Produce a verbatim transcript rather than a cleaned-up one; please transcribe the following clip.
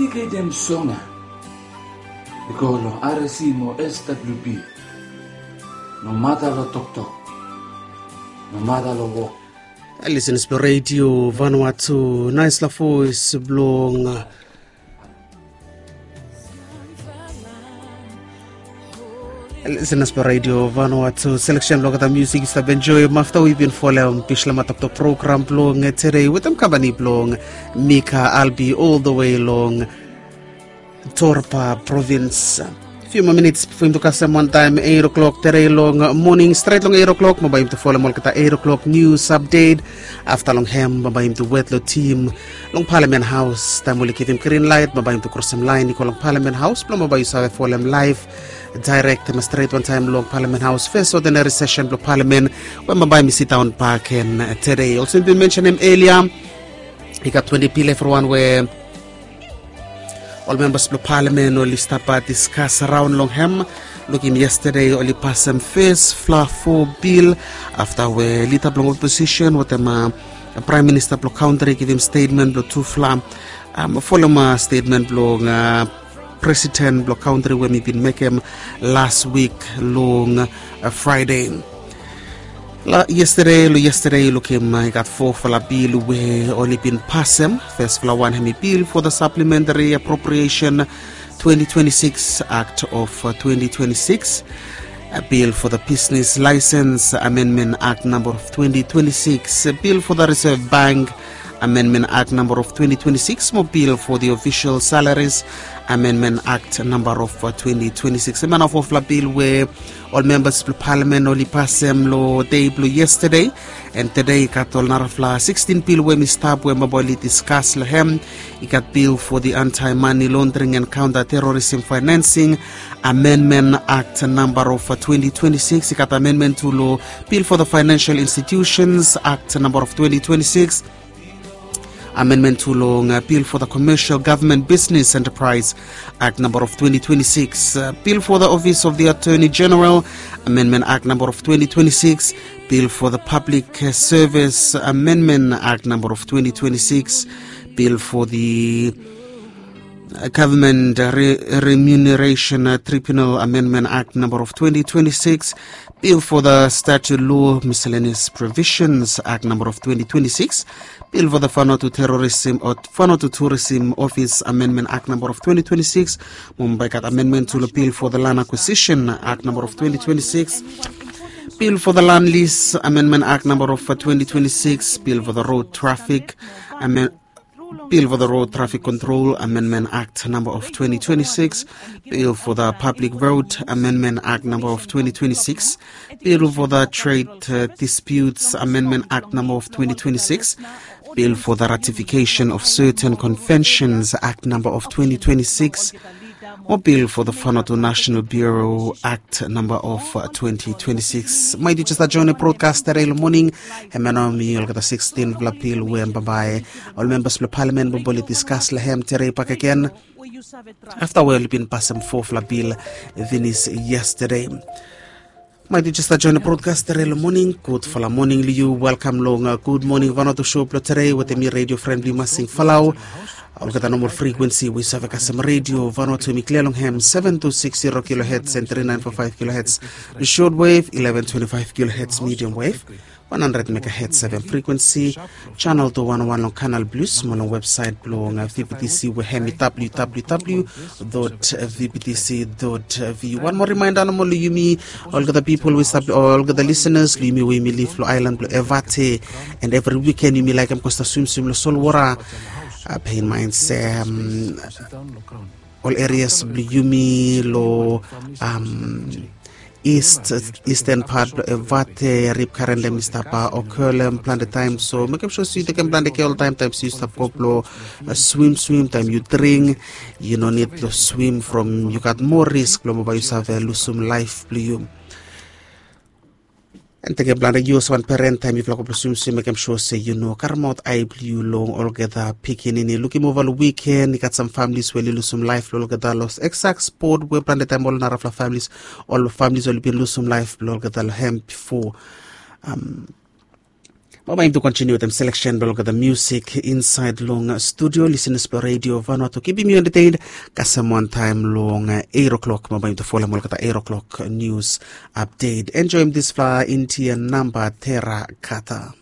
Ike dem songa i go long R S C mo S W P. No mata long toktok, no mata long wok. Listeners blong Radio Vanuatu, naisla voes blong listeners blong Radio Vanuatu, selection blong olgeta musik yu stap enjoy afta wi bin folem Bislama Toktok program blong today wetem kampani blong Mika Albi all the way long Torpa provins. Few more minutes before him to kasem one time eight o'clock today long morning, straight long eight o'clock, mo bai him to folem olgeta eight o'clock news update. Afta long hem mo bai him to wet long tim long Parliament House. Taim oli givim green light mo bai him to krosem lain i go long Parliament House blong mo bai yu save folem live direct ma straight wantaim long Parliament House first ordinary session blong Parliament we mo bai mi sidaun bak en today. Olsem bin mentionem earlier, i gat twenti pil evriwan we ol membas blong Parliament oli stap diskas raon long hem. Lukim yesterday oli pasem fes fla fo bil afta we lida blong opposition wetem Praim Minista blong kantri givim stetmen blong tufla folem stetmen blong presiden blong kantri we mi bin mekem las wik long Fraede. Yesterday long yesterday lukim i gat fofala bil we oli bin pasem. Fesfala wan hem i bil fo the Supplementary Appropriation twenty twenty-six Act of twenty twenty-six, a bill for the Business License Amendment Act number of twenty twenty-six, a bill for the Reserve Bank Amendment Act number of twenty twenty-six, mo bill for the Official Salaries Amendment Act number of twenty twenty-six. Hemia nao fofala bil we ol membas blong Parliament oli pasem long dei blong yesterday. And today i gat ol narafala sixteen bil we mi stap we mo bai oli diskas long hem. I gat bill for the Anti-Money Laundering and Counter-Terrorism Financing Amendment Act number of twenty twenty-six. I gat amendment tu long bill for the Financial Institutions Act number of twenty twenty-six. Amendment tu long bill for the Commercial Government Business Enterprise Act number of twenty twenty-six, bill for the Office of the Attorney General Amendment Act number of twenty twenty-six, bill for the Public Service Amendment Act number of twenty twenty-six, bill for the Government Remuneration Tribunal Amendment Act number of twenty twenty-six, bill for the Statute Law Miscellaneous Provisions Act number of twenty twenty-six, bill for the Vanuatu Terrorism or Vanuatu Tourism Office Amendment Act number of twenty twenty-six, mo bai gat amendment tu long bill for the Land Acquisition Act number of twenty twenty-six, bill for the Land Lease Amendment Act number of twenty twenty-six, bill for the Road Traffic Amendment Bill for the Road Traffic Control Amendment Act number of twenty twenty-six, bill for the Public Road Amendment Act number of twenty twenty-six, bill for the Trade Disputes Amendment Act number of twenty twenty-six, bill for the Ratification of Certain Conventions Act number of twenty twenty-six, mo bill for the Vanuatu National Bureau Act number of twenty twenty-six. Mai tu just a join a broadcast today long morning. Hemia nao mi olgeta sixteen fala bil we bambae ol membas blong Parliament bambae oli diskas long hem today bakegen afta we oli bin pasem fofala bil finis yesterday. Mai tu just a join a broadcast today long morning. Gudfala morning long yu. Welkam long Good Morning Vanuatu show blong today wetem mi radio fren blong yu Masing Falau. Olgeta normal frequency we yu save kasem Radio Vanuatu mi klia long hem seven two six zero kilohertz and three nine four five kilohertz short wave, eleven twenty-five kilohertz medium wave, one hundred megahertz seven frequency, channel two one one long Canal Plus mo long website blong V B T C we hem i W W W dot V B T C dot V U. One more reminder nomo long yumi olgeta people we stap olgeta listeners long yumi we yumi live long island blong Evate, and every weekend yumi laekem go stap swimswim long solwota. Bear in mind se ol areas blong yumi long east, eastern part blong Evate, rip current dem i stap occur long hem plante taem. So mekem sua se yu tekem plante kea oltaem taem se yu stap go blong swimswim, taem yu dring, yu no nid blong swim from yu gat moa risk blong bambae yu save lusum laef blong yu. And tekem plante yu olsem wan peren taem yufala go blong swimswim mekem sua se yu no karemaot ae blong yu long olgeta pikinini. Lukim ova long wiken i gat sam familis we oli lusum laef blong olgeta long eksak spot we plante taem ol narafala familis, ol familis oli bin lusum laef blong olgeta long hem bifo. Bae bae yumi tu kontiniu wetem seleksen blong olgeta musik insaed long studio. Lisenas blong redio vanua tu kipim yu entetein kasem wantaem long eiro klok, bae bae yumi tu folem olgeta eiro klok nius apdet. Enjoem disfala intia namba tera kata.